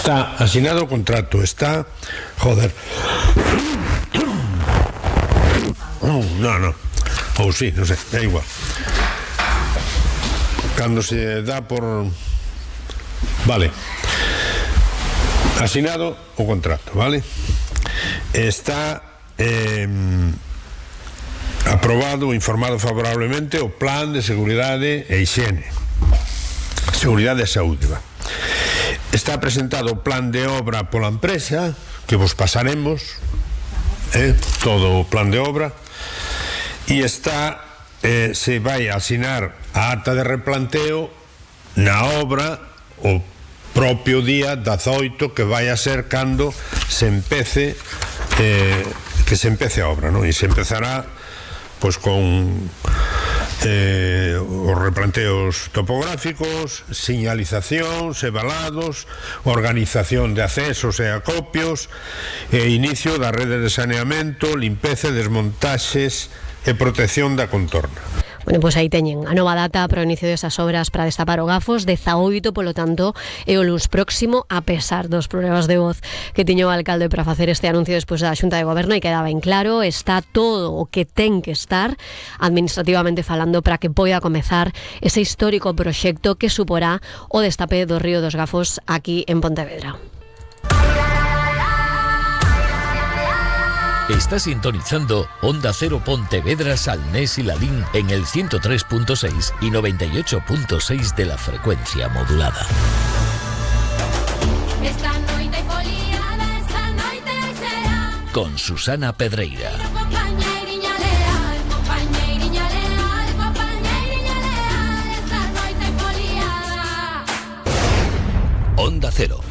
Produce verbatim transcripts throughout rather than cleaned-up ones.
Está asinado o contrato, está... Joder. No, no. Ou sí, non sei, é igual. Cando se dá por... Vale. Asinado o contrato, vale? Está eh, aprobado, informado favorablemente o Plan de Seguridade e Higiene. Seguridade e Saúde, va. Está presentado o plan de obra pola empresa, que vos pasaremos, eh, todo o plan de obra, e está, eh, se vai a asinar a acta de replanteo na obra o propio día dezaoito, que vai a ser cando se empece eh, que se empece a obra, non? E se empezará pois con eh, os replanteos topográficos, señalizacións e valados, organización de accesos e acopios, e inicio da rede de saneamento, limpeza, desmontaxes e protección da contorna. Bueno, pois aí teñen a nova data para o inicio desas obras para destapar o Gafos, dezaoito, polo tanto, e o luns próximo, a pesar dos problemas de voz que tiño o alcalde para facer este anuncio despois da Xunta de Goberno, e quedaba en claro, está todo o que ten que estar administrativamente falando para que poida comezar ese histórico proxecto que suporá o destape do río dos Gafos aquí en Pontevedra. Está sintonizando Onda Cero Pontevedra, Salnés y Lalín en el ciento tres punto seis y noventa y ocho punto seis de la frecuencia modulada. Esta noite foliada, esta noite será Con Susana Pedreira. compañeiriña leal, compañeiriña leal, compañeiriña leal, esta noite foliada. Onda Cero.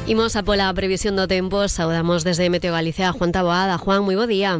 Imos a pola previsión do tempo, saudamos desde Meteo Galicia a Juan Taboada. Juan, moi bo día.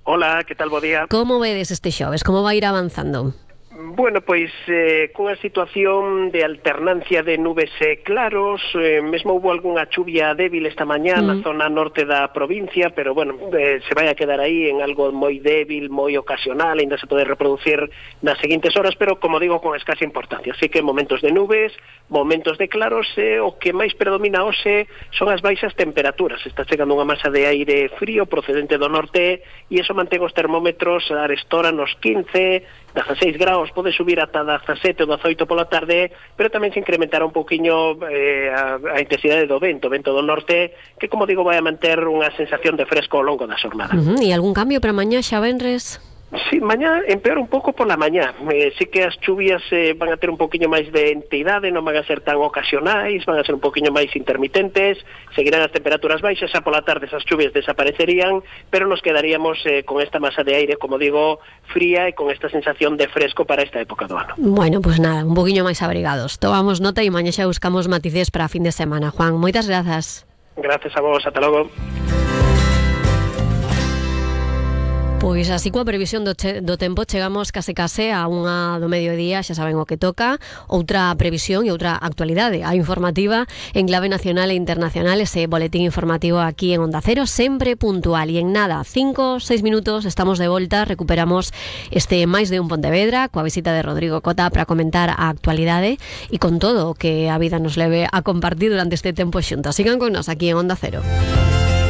Hola, que tal, bo día? Como vedes este xoves? Como vai ir avanzando? Bueno, pois eh, cunha situación de alternancia de nubes e claros, eh, mesmo houve algunha chuvia débil esta mañá mm. na zona norte da provincia, pero bueno, eh, se vai a quedar aí en algo moi débil, moi ocasional, ainda se pode reproducir nas seguintes horas, pero como digo, con escasa importancia. Así que momentos de nubes, momentos de claros, e o que máis predomina hoxe son as baixas temperaturas. Está chegando unha masa de aire frío procedente do norte e iso mantén os termómetros a arestora nos quince, dezasseis graus, pode subir ata dezasete ou dezaoito pola tarde, pero tamén se incrementará un pouquiño eh, a, a intensidade do vento, vento do norte, que, como digo, vai a manter unha sensación de fresco ao longo da xornada. Uh-huh. E algún cambio para mañá, xa venres? Sí, mañá empeora un pouco pola mañá. Eh, sí que as chuvias eh, van a ter un pouquiño máis de entidade, non van a ser tan ocasionais, van a ser un pouquiño máis intermitentes, seguirán as temperaturas baixas, xa pola tarde esas chuvias desaparecerían, pero nos quedaríamos eh, con esta masa de aire, como digo, fría e con esta sensación de fresco para esta época do ano. Bueno, pues nada, un poquinho máis abrigados. Tomamos nota e mañá xa buscamos matices para a fin de semana. Juan, moitas grazas. Gracias a vos, ata logo. Pois así coa previsión do, che, do tempo chegamos case case a unha do mediodía, xa saben o que toca, outra previsión e outra actualidade, a informativa en clave nacional e internacional, ese boletín informativo aquí en Onda Cero, sempre puntual, e en nada, cinco, seis minutos estamos de volta, recuperamos este máis de un Pontevedra coa visita de Rodrigo Cota para comentar a actualidade e con todo o que a vida nos leve a compartir durante este tempo xuntos. Sigan con nos aquí en Onda Cero.